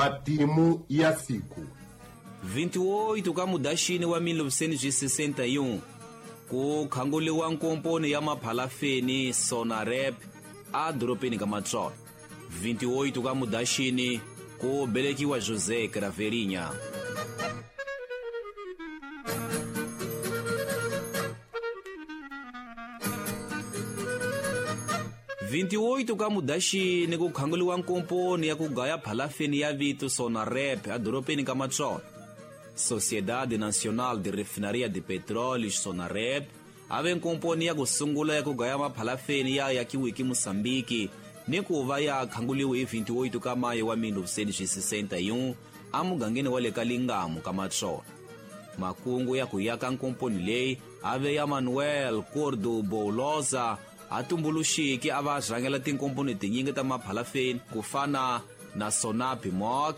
Matimu ya siku. 28 ka Mudaxini wa 1961 ku khanguliwa nkomponi ya maphalafeni Sonarep a dorobeni ka Matsolo. 28 ka Mudaxini ku belekiwa José Craveirinha. 28 ka Mudaxini ku khanguliwa nkomponi ya ku gaya phalafeni ya vito Sonarep a dorobeni ka Matsolo. Sociedade Nacional de Refinaria de Petróleo Sonarep ave nkomponi ya ku sungula ya ku gaya maphalafeni ya yakiwiki Mosambiki ni ku va ya khanguliwe hi 28 ka Mayi wa 1961 amugangeni wa le ka Lingamu ka Matsolo. Makungu ya ku yaka nkomponi leyi ave ya Manuel Cordo Boulosa a tumbuluxiki a va rhangela tinkomponi tinyingi ta maphalafeni ku fana na Sonapimok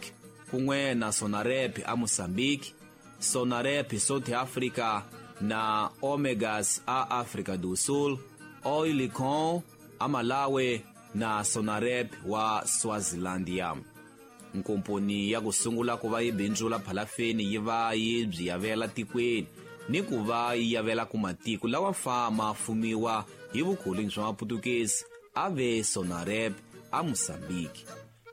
kun'we na Sonarep a Mozambique, Sonarep South Africa na Omegas a Africa do Sul, Oilicon a Malawi na Sonarep wa Swazilandia. Nkomponi ya ku sungula ku va yi bindzula phalafeni yi va yi byi yavela tikweni ni ku va yi yavela ku matiko lawa fama fumiwa hi vukoloni bya maputukezi a ve Sonarep a Mozambique.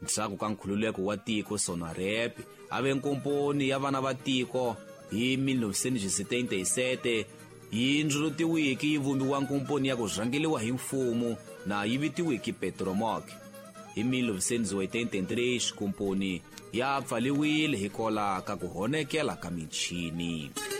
Ndzhaku ka nkhululeko wa tiko Sonarep a ve nkomponi ya vana va tiko hi 1977 yi ndzulutiwiki yi vumbiwa nkomponi ya ku rhangeliwa hi mfumo na yi vitiwiki Petromoc. Hi 1983 xikomponi ya pfaliwile hikola ka ku honekela ka michini.